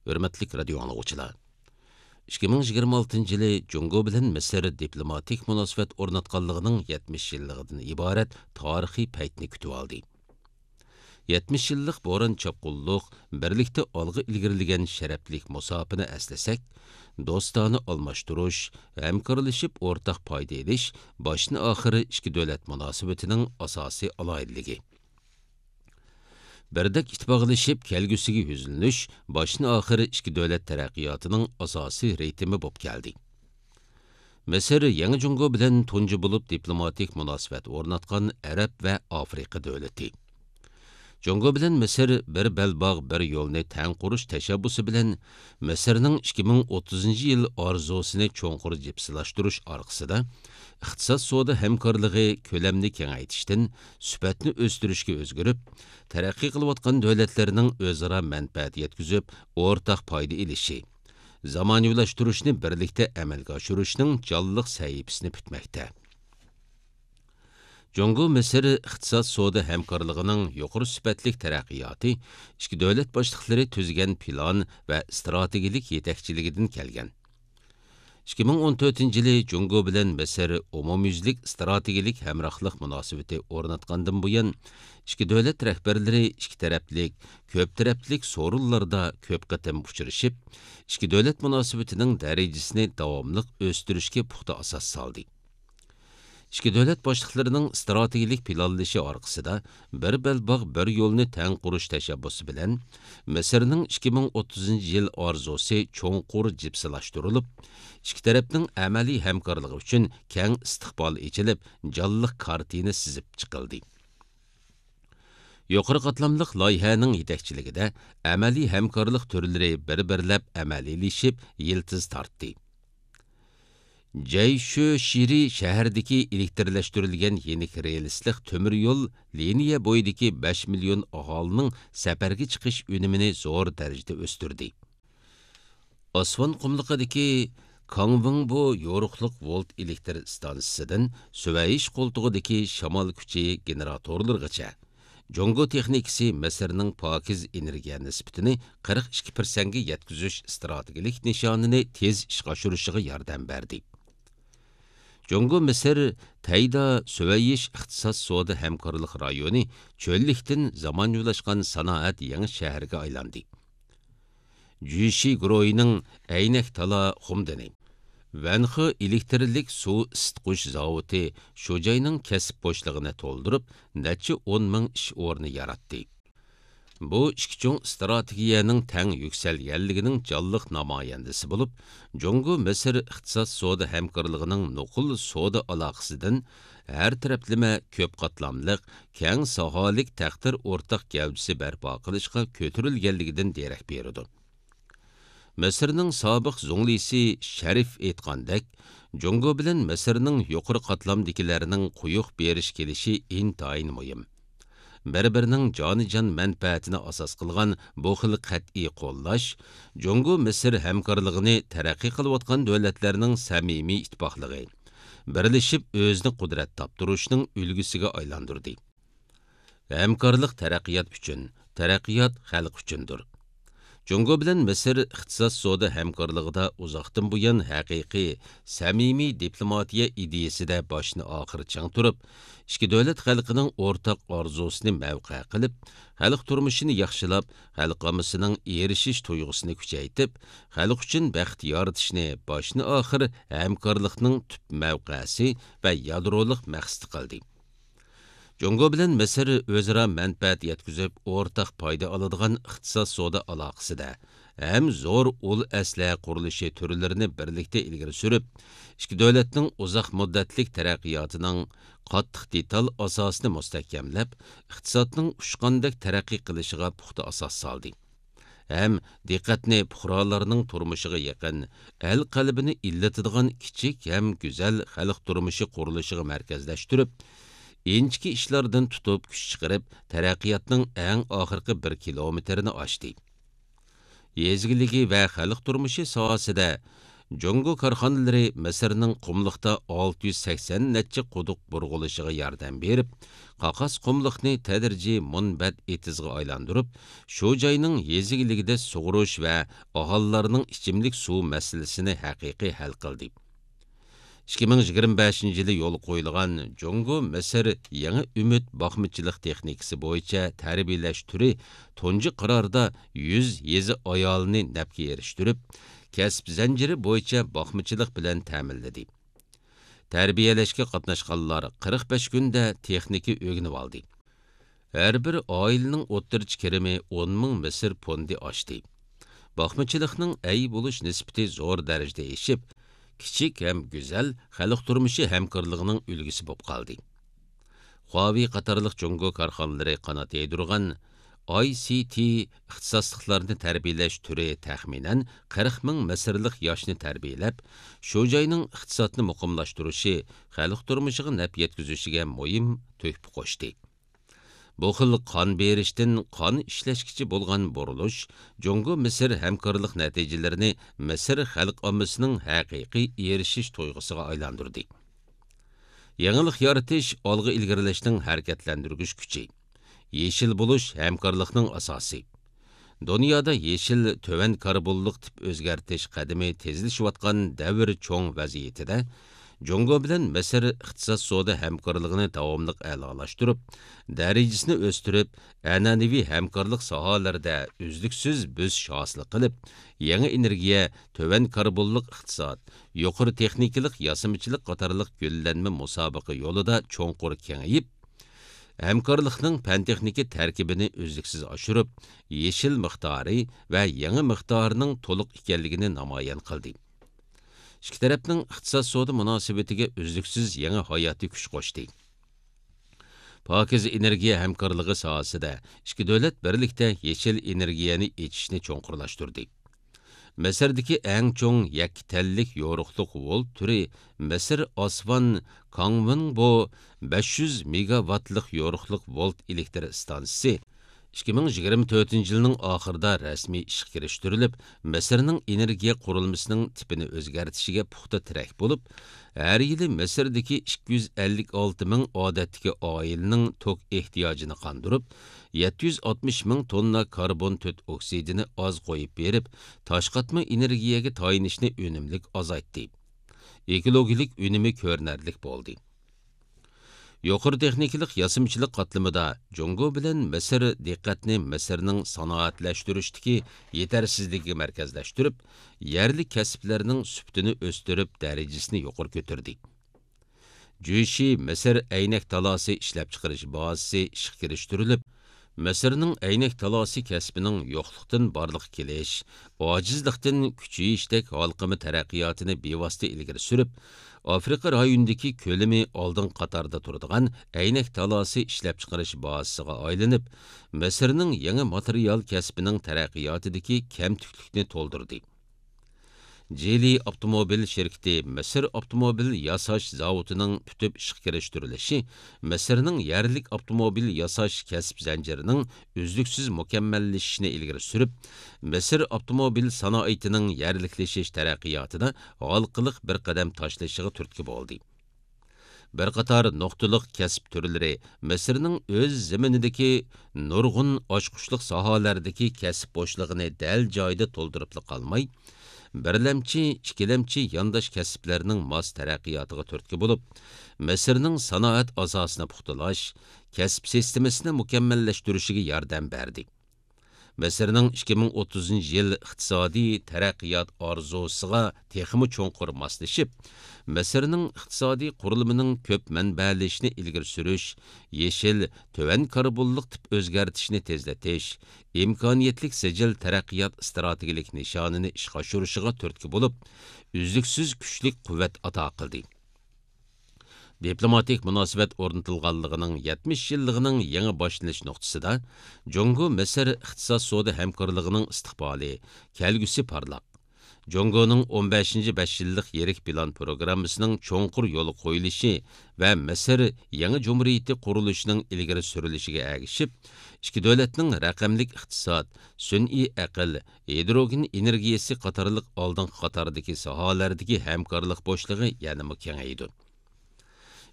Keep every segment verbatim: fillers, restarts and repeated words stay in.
ھۆرمەتلىك رادىيو ئاڭلىغۇچىلار! ئىككى مىڭ يىگىرمە ئالتىنچى يىلى جۇڭگو بىلەن مىسىر دىپلوماتىك مۇناسىۋەت ئورناتقانلىقىنىڭ يەتمىش يىللىقىدىن ئىبارەت تارىخىي پەيتنى كۈتۈۋالدى. يەتمىش يىللىق بوران-چاپقۇنلۇق، بىرلىكتە ئالغا ئىلگىرىلىگەن شەرەپلىك مۇساپىنى ئەسلىسەك، دوستانە ئالماشتۇرۇش، ھەمكارلىشىپ ئورتاق پايدا ئېلىش باشتىن-ئاخىر ئىككى دۆلەت مۇناسىۋىتىنىڭ ئاساسىي ئالاھىدىلىكى. بىردەك ئىتتىپاقلىشىپ كەلگۈسىگە يۈزلىنىش باشتىن-ئاخىر ئىككى دۆلەت تەرەققىياتىنىڭ ئاساسىي رىتىمى بولۇپ كەلدى. مىسىر يېڭى جۇڭگو بىلەن تۇنجى بولۇپ دىپلوماتىك مۇناسىۋەت ئورناتقان ئەرەب ۋە ئافرىقا دۆلىتى. جۇڭگو بىلەن مىسىر بىر بەلباغ، بىر يولنى تەڭ قۇرۇش تەشەببۇسى بىلەن مىسىرنىڭ ئىككى مىڭ ئوتتۇزىنچى يىل ئارزۇسىنى چوڭقۇر جىپسىلاشتۇرۇش ئارقىسىدا، ئىقتىساد سودا ھەمكارلىقى كۆلەمنى كېڭەيتىشتىن سۈپەتنى ئۆستۈرۈشكە ئۆزگىرىپ، تەرەققىي قىلىۋاتقان دۆلەتلەرنىڭ ئۆزئارا مەنپەئەت يەتكۈزۈپ، ئورتاق پايدا ئېلىشى، زامانىۋىلاشتۇرۇشنى بىرلىكتە ئەمەلگە ئاشۇرۇشنىڭ جانلىق سەھىپىسىنى پۈتمەكتە. جۇڭگو مىسىر ئىقتىساد سودا ھەمكارلىقىنىڭ يۇقىرى سۈپەتلىك تەرەققىياتى ئىككى دۆلەت باشلىقلىرى تۈزگەن پىلان ۋە ئىستراتېگىيەلىك يېتەكچىلىكىدىن كەلگەن. ئىككى مىڭ ئون تۆتىنچى يىلى جۇڭگو بىلەن مىسىر ئومۇميۈزلۈك ئىستراتېگىيەلىك ھەمراھلىق مۇناسىۋىتى ئورناتقاندىن بۇيان، ئىككى دۆلەت رەھبەرلىرى ئىككى تەرەپلىك، كۆپ تەرەپلىك سورۇنلاردا كۆپ قېتىم ئۇچرىشىپ، ئىككى دۆلەت مۇناسىۋىتىنىڭ دەرىجىسىنى داۋاملىق ئۆستۈرۈشكە پۇختا ئاساس سالدى. ئىككى دۆلەت باشلىقلىرىنىڭ ئىستراتېگىيەلىك پىلانلىشى ئارقىسىدا، بىر بەلباغ، بىر يولنى تەڭ قۇرۇش تەشەببۇسى بىلەن مىسىرنىڭ ئىككى مىڭ ئوتتۇزىنچى يىل ئارزۇسى چوڭقۇر جىپسىلاشتۇرۇلۇپ، ئىككى تەرەپنىڭ ئەمەلىي ھەمكارلىقى ئۈچۈن كەڭ ئىستىقبال ئېچىلىپ، جانلىق كارتىنا سىزىپ چىقىلدى. يۇقىرى قاتلاملىق لايىھەنىڭ يېتەكچىلىكىدە ئەمەلىي ھەمكارلىق تۈرلىرى بىر-بىرلەپ ئەمەلىيلىشىپ، يىلتىز تارتتى. جەيشۈشىرى شەھىرىدىكى ئېلېكترلەشتۈرۈلگەن يېنىك رېلىسلىق تۆمۈر يول لىنىيە بويىدىكى بەش مىليون ئاھالىنىڭ سەپەرگە چىقىش ئۈنۈمىنى زور دەرىجىدە ئۆستۈردى. ئاسۋان قۇملۇقىدىكى كاڭۋېڭبو يورۇقلۇق ۋولت ئېلېكتر ئىستانسىسىدىن سۈۋەيش قولتۇقىدىكى شامال كۈچى گېنېراتورلىرىغىچە، جۇڭگو تېخنىكىسى مىسىرنىڭ پاكىز ئېنېرگىيە نىسبىتىنى قىرىق ئىككى پىرسەنتكە يەتكۈزۈش ئىستراتېگىيەلىك نىشانىنى تېز ئىشقا ئاشۇرۇشىغا ياردەم بەردى. جۇڭگو مىسىر تەيدا سۈۋەيش ئىقتىساد سودا ھەمكارلىق رايونى چۆللۈكتىن زامانىۋىلاشقان سانائەت يېڭى شەھىرىگە ئايلاندى. جۈشى گۇرۇھىنىڭ ئەينەك تالا خۇمدىنى، ۋەنخې ئېلېكترلىك سۇ ئىسسىتقۇچ زاۋۇتى شۇ جاينىڭ كەسىپ بوشلۇقىنى تولدۇرۇپ، نەچچە ئون مىڭ ئىش ئورنى ياراتتى. بۇ ئىككى چوڭ ئىستراتېگىيەنىڭ تەڭ يۈكسەلگەنلىكىنىڭ جانلىق نامايەندىسى بولۇپ، جۇڭگو مىسىر ئىقتىساد سودا ھەمكارلىقىنىڭ نوقۇل سودا ئالاقىسىدىن ھەر تەرەپلىمە كۆپ قاتلاملىق، كەڭ ساھەلىك تەقدىر ئورتاق گەۋدىسى بەرپا قىلىشقا كۆتۈرۈلگەنلىكىدىن دېرەك بېرىدۇ. مىسىرنىڭ سابىق زۇڭلىسى شەرىف ئېيتقاندەك، جۇڭگو بىلەن مىسىرنىڭ يۇقىرى قاتلامدىكىلەرنىڭ قويۇق بېرىش كېلىشى ئىنتايىن مۇھىم. بىر-بىرىنىڭ جانىجان مەنپەئەتىنى ئاساس قىلغان بۇ خىل قەتئىي قوللاش جۇڭگو مىسىر ھەمكارلىقىنى تەرەققىي قىلىۋاتقان دۆلەتلەرنىڭ سەمىمىي ئىتتىپاقلىقى، بىرلىشىپ ئۆزىنى قۇدرەت تاپتۇرۇشنىڭ ئۈلگىسىگە ئايلاندۇردى. ھەمكارلىق تەرەققىيات ئۈچۈن، تەرەققىيات خەلق ئۈچۈندۇر. جۇڭگو بىلەن مىسىر ئىقتىساد سودا ھەمكارلىقىدا ئۇزاقتىن بۇيان ھەقىقىي، سەمىمىي دىپلوماتىيە ئىدىيىسىدە باشتىن ئاخىر چىڭ تۇرۇپ، ئىككى دۆلەت خەلقىنىڭ ئورتاق ئارزۇسىنى مەۋقە قىلىپ، خەلق تۇرمۇشىنى ياخشىلاپ، خەلق ئاممىسىنىڭ ئېرىشىش تۇيغۇسىنى كۈچەيتىپ، خەلق ئۈچۈن بەخت يارىتىشنى باشتىن ئاخىر ھەمكارلىقنىڭ تۈپ مەۋقەسى ۋە يادرولۇق مەقسىتى قىلدى. جۇڭگو بىلەن مىسىر ئۆزئارا مەنپەئەت يەتكۈزۈپ، ئورتاق پايدا ئالىدىغان ئىقتىساد سودا ئالاقىسىدە ھەم زور ئۇل ئەسلىھە قۇرۇلۇشى تۈرلىرىنى بىرلىكتە ئىلگىرى سۈرۈپ، ئىككى دۆلەتنىڭ ئۇزاق مۇددەتلىك تەرەققىياتىنىڭ قاتتىق دېتال ئاساسىنى مۇستەھكەملەپ، ئىقتىسادنىڭ ئۇچقاندەك تەرەققىي قىلىشىغا پۇختا ئاساس سالدى. ھەم دىققەتنى پۇقرالارنىڭ تۇرمۇشىغا يېقىن، ئەل قەلبىنى ئىللىتىدىغان كىچىك ھەم گۈزەل خەلق تۇرمۇشى قۇرۇلۇشىغا مەركەزلەشتۈرۈپ، ئىنچىكە ئىشلاردىن تۇتۇپ كۈچ چىقىرىپ، تەرەققىياتنىڭ ئەڭ ئاخىرقى بىر كىلومېتىرىنى ئاچتى. يېزا ئىگىلىكى ۋە خەلق تۇرمۇشى ساھەسىدە جۇڭگو كارخانىلىرى مىسىرنىڭ قۇملۇقتا ئالتە يۈز سەكسەن نەچچە قۇدۇق بۇرغىلىشىغا ياردەم بېرىپ، قاقاس قۇملۇقنى تەدرىجىي مۇنبەت ئېتىزغا ئايلاندۇرۇپ، شۇ جاينىڭ يېزا ئىگىلىكىدە سۇغۇرۇش ۋە ئاھالىلەرنىڭ ئىچىملىك سۇ مەسىلىسىنى ھەقىقىي ھەل قىلدى. ئىككى مىڭ يىگىرمە بەشىنچى يىلى يولغا قويۇلغان جۇڭگو مىسىر يېڭى ئۈمىد باقمىچىلىق تېخنىكىسى بويىچە تەربىيەلەش تۈرى تۇنجى قاراردا يۈز يېزا ئايالىنى نەپكە ئېرىشتۈرۈپ، كەسىپ زەنجىرى بويىچە باقمىچىلىق بىلەن تەمىنلىدى. تەربىيەلەشكە قاتناشقانلار قىرىق بەش كۈندە تېخنىكا ئۆگىنىۋالدى. ھەر بىر ئائىلىنىڭ ئوتتۇرىچە كىرىمى ئون مىڭ مىسىر پوندى ئاشتى. باقمىچىلىقنىڭ ئەي بولۇش نىسبىتى زور دەرىجىدە ئېشىپ، كىچىك ھەم گۈزەل خەلق تۇرمۇشى ھەمكارلىقىنىڭ ئۈلگىسى بولۇپ قالدى. خۇاۋېي قاتارلىق جۇڭگو كارخانىلىرى قانات يايدۇرغان ئاي سىي تىي ئىختىساسلىقلارنى تەربىيەلەش تۈرى تەخمىنەن قىرىق مىڭ مىسىرلىق ياشنى تەربىيەلەپ، شۇ جاينىڭ ئىقتىسادنى مۇقىملاشتۇرۇشى، خەلق تۇرمۇشىغا نەپ يەتكۈزۈشىگە مۇھىم تۆھپە قوشتى. بۇ خىل قان بېرىشتىن قان ئىشلەشكىچە بولغان بۇرۇلۇش جۇڭگو مىسىر ھەمكارلىق نەتىجىلىرىنى مىسىر خەلق ئاممىسىنىڭ ھەقىقىي ئېرىشىش تۇيغۇسىغا ئايلاندۇردى. يېڭىلىق يارىتىش ئالغا ئىلگىرىلەشنىڭ ھەرىكەتلەندۈرگۈچ كۈچى. يېشىل بولۇش ھەمكارلىقنىڭ ئاساسى. دۇنيادا يېشىل، تۆۋەن كاربونلۇق تىپ ئۆزگەرتىش قەدىمى تېزلىشىۋاتقان دەۋر چوڭ ۋەزىيىتىدە، جۇڭگو بىلەن مىسىر ئىقتىساد سودا ھەمكارلىقىنى داۋاملىق ئەلالاشتۇرۇپ، دەرىجىسىنى ئۆستۈرۈپ، ئەنئەنىۋى ھەمكارلىق ساھەلىرىدە ئۈزلۈكسىز بۆسۈش ھاسىل قىلىپ، يېڭى ئېنېرگىيە، تۆۋەن كاربونلۇق ئىقتىساد، يۇقىرى تېخنىكىلىق ياسىمىچىلىق قاتارلىق گۈللەنمە مۇسابىقە يولىدا چوڭقۇر كېڭىيىپ، ھەمكارلىقنىڭ پەن-تېخنىكا تەركىبىنى ئۈزلۈكسىز ئاشۇرۇپ، يېشىل مىقدارى ۋە يېڭى مىقدارىنىڭ تولۇق ئىكەنلىكىنى نامايان قىلدى. ئىككى تەرەپنىڭ ئىقتىساد سودا مۇناسىۋىتىگە ئۈزلۈكسىز يېڭى ھاياتىي كۈچ قوشتى. پاكىز ئېنېرگىيە ھەمكارلىقى ساھەسىدە ئىككى دۆلەت بىرلىكتە يېشىل ئېنېرگىيەنى ئېچىشنى چوڭقۇرلاشتۇردى. مىسىردىكى ئەڭ چوڭ يەككە تەنلىك يورۇقلۇق ۋولت تۈرى مىسىر ئاسۋان كاڭۋېنبو بەش يۈز مېگاۋاتلىق يورۇقلۇق ۋولت ئېلېكتر ئىستانسىسى ئىككى مىڭ يىگىرمە تۆتىنچى يىلنىڭ ئاخىرىدا رەسمىي ئىشقا كىرىشتۈرۈلۈپ، مىسىرنىڭ ئېنېرگىيە قۇرۇلمىسىنىڭ تىپىنى ئۆزگەرتىشىگە پۇختا تىرەك بولۇپ، ھەر يىلى مىسىردىكى ئىككى يۈز ئەللىك ئالتە مىڭ ئادەتتىكى ئائىلىنىڭ توك ئېھتىياجىنى قاندۇرۇپ، يەتتە يۈز ئاتمىش مىڭ توننا كاربون تۆت ئوكسىدىنى ئاز قويۇپ بېرىپ، تاشقاتما ئېنېرگىيەگە تايىنىشنى ئۈنۈملۈك ئازايتتى. ئېكولوگىيەلىك ئۈنۈمى كۆرۈنەرلىك بولدى. يۇقىرى تېخنىكىلىق ياسىمىچىلىق قاتلىمىدا جۇڭگو بىلەن مىسىر دىققەتنى مىسىرنىڭ سانائەتلەشتۈرۈشتىكى يېتەرسىزلىكىگە مەركەزلەشتۈرۈپ، يەرلىك كەسىپلەرنىڭ سۈپىتىنى ئۆستۈرۈپ، دەرىجىسىنى يۇقىرى كۆتۈردى. جۈيشى مىسىر ئەينەك تالاسى ئىشلەپچىقىرىش بازىسى ئىشقا كىرىشتۈرۈلۈپ، مىسىرنىڭ ئەينەك تالاسى كەسپىنىڭ يوقلۇقتىن بارلىققا كېلىش، ئاجىزلىقتىن كۈچىيىشتەك ھالقىما تەرەققىياتىنى بىۋاسىتە ئىلگىرى سۈرۈپ، ئافرىقا رايونىدىكى كۆلىمى ئالدىنقى قاتاردا تۇرىدىغان ئەينەك تالاسى ئىشلەپچىقىرىش بازىسىغا ئايلىنىپ، مىسىرنىڭ يېڭى ماتېرىيال كەسپىنىڭ تەرەققىياتىدىكى كەمتۈكلۈكنى تولدۇردى. جىلى ئاپتوموبىل شىركىتى مىسىر ئاپتوموبىل ياساش زاۋۇتىنىڭ پۈتۈپ ئىشقا كىرىشتۈرۈلۈشى مىسىرنىڭ يەرلىك ئاپتوموبىل ياساش كەسىپ زەنجىرىنىڭ ئۈزلۈكسىز مۇكەممەللىشىشىنى ئىلگىرى سۈرۈپ، مىسىر ئاپتوموبىل سانائىتىنىڭ يەرلىكلىشىش تەرەققىياتىدا ھالقىلىق بىر قەدەم تاشلىشىغا تۈرتكە بولدى. بىر قاتار نۇقتىلىق كەسىپ تۈرلىرى مىسىرنىڭ ئۆز زېمىنىدىكى نۇرغۇن ئاچقۇچلۇق ساھەلەردىكى كەسىپ بوشلۇقىنى دەل جايىدا تولدۇرۇپلا قالماي، بىرلەمچى، ئىككىلەمچى يانداش كەسىپلەرنىڭ ماس تەرەققىياتىغا تۈرتكە بولۇپ، مىسىرنىڭ سانائەت ئاساسىنى پۇختىلاش، كەسىپ سىستېمىسىنى مۇكەممەللەشتۈرۈشىگە ياردەم بەردى. مىسىرنىڭ ئىككى مىڭ ئوتتۇزىنچى يىل ئىقتىسادىي تەرەققىيات ئارزۇسىغا تېخىمۇ چوڭقۇر ماسلىشىپ، مىسىرنىڭ ئىقتىسادىي قۇرۇلمىنىڭ كۆپ مەنبەلىشىشىنى ئىلگىرى سۈرۈش، يېشىل، تۆۋەن كاربونلۇق تىپ ئۆزگەرتىشنى تېزلىتىش، ئىمكانىيەتلىك سىجىل تەرەققىيات ئىستراتېگىيەلىك نىشانىنى ئىشقا ئاشۇرۇشىغا تۈرتكە بولۇپ، ئۈزلۈكسىز كۈچلۈك قۇۋۋەت ئاتا قىلدى. دىپلوماتىك مۇناسىۋەت ئورنىتىلغانلىقىنىڭ يەتمىش يىللىقىنىڭ يېڭى باشلىنىش نۇقتىسىدا، جۇڭگو مىسىر ئىقتىساد سودا ھەمكارلىقىنىڭ ئىستىقبالى، كەلگۈسى پارلاق. جۇڭگونىڭ ئون بەشىنچى بەش يىللىق يىرىك پىلان پروگراممىسىنىڭ چوڭقۇر يولغا قويۇلۇشى ۋە مىسىر يېڭى جۇمھۇرىيىتى قۇرۇلۇشىنىڭ ئىلگىرى سۈرۈلۈشىگە ئەگىشىپ، ئىككى دۆلەتنىڭ رەقەملىك ئىقتىساد، سۈنئىي ئەقىل، ھىدروگېن ئېنېرگىيىسى قاتارلىق ئالدىنقى قاتاردىكى ساھەلەردىكى ھەمكارلىق بوشلۇقى يەنىمۇ كېڭەيدۇ.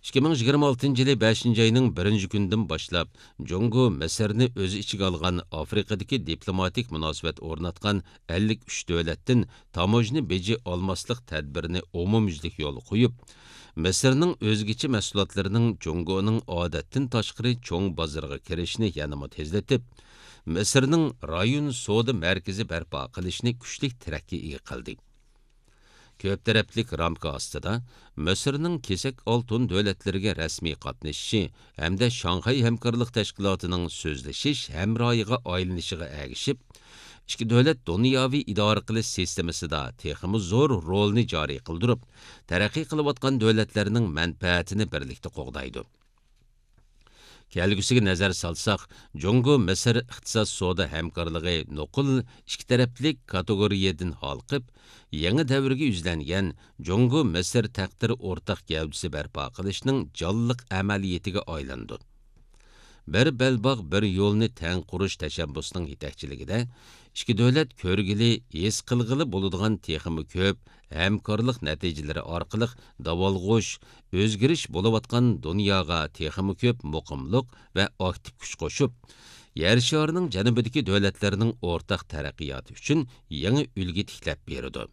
ئىككى مىڭ يىگىرمە ئالتىنچى يىلى بەشىنچى ئاينىڭ بىرىنچى كۈنىدىن باشلاپ، جۇڭگو مىسىرنى ئۆز ئىچىگە ئالغان ئافرىقىدىكى دىپلوماتىك مۇناسىۋەت ئورناتقان ئەللىك ئۈچ دۆلەتتىن تاموژنا بېجى ئالماسلىق تەدبىرىنى ئومۇميۈزلۈك يولغا قويۇپ، مىسىرنىڭ ئۆزگىچە مەھسۇلاتلىرىنىڭ جۇڭگونىڭ ئادەتتىن تاشقىرى چوڭ بازىرىغا كىرىشىنى يەنىمۇ تېزلىتىپ، مىسىرنىڭ رايون سودا مەركىزى بەرپا قىلىشىنى كۈچلۈك تىرەككە ئىگە قىلدى. كۆپ تەرەپلىك رامكا ئاستىدا مىسىرنىڭ كېسەك ئالتۇن دۆلەتلىرىگە رەسمىي قاتنىشىشى ھەمدە شاڭخەي ھەمكارلىق تەشكىلاتىنىڭ سۆزلىشىش ھەمراھىغا ئايلىنىشىغا ئەگىشىپ، ئىككى دۆلەت دۇنياۋى ئىدارە قىلىش سىستېمىسىدا تېخىمۇ زور رولنى جارى قىلدۇرۇپ، تەرەققىي قىلىۋاتقان دۆلەتلەرنىڭ مەنپەئەتىنى بىرلىكتە قوغدايدۇ. كەلگۈسىگە نەزەر سالساق، جۇڭگو مىسىر ئىقتىساد سودا ھەمكارلىقى نوقۇل ئىككى تەرەپلىك كاتېگورىيەدىن ھالقىپ، يېڭى دەۋرگە يۈزلەنگەن جۇڭگو مىسىر تەقدىر ئورتاق گەۋدىسى بەرپا قىلىشنىڭ جانلىق ئەمەلىيىتىگە ئايلىنىدۇ. بىر بەلباغ، بىر يولنى تەڭ قۇرۇش تەشەببۇسىنىڭ يېتەكچىلىكىدە، ئىككى دۆلەت كۆرگىلى، ھېس قىلغىلى بولىدىغان تېخىمۇ كۆپ ھەمكارلىق نەتىجىلىرى ئارقىلىق داۋالغۇش، ئۆزگىرىش بولۇۋاتقان دۇنياغا تېخىمۇ كۆپ مۇقىملىق ۋە ئاكتىپ كۈچ قوشۇپ، يەر شارىنىڭ جەنۇبىدىكى دۆلەتلەرنىڭ ئورتاق تەرەققىياتى ئۈچۈن يېڭى ئۈلگە تىكلەپ بېرىدۇ.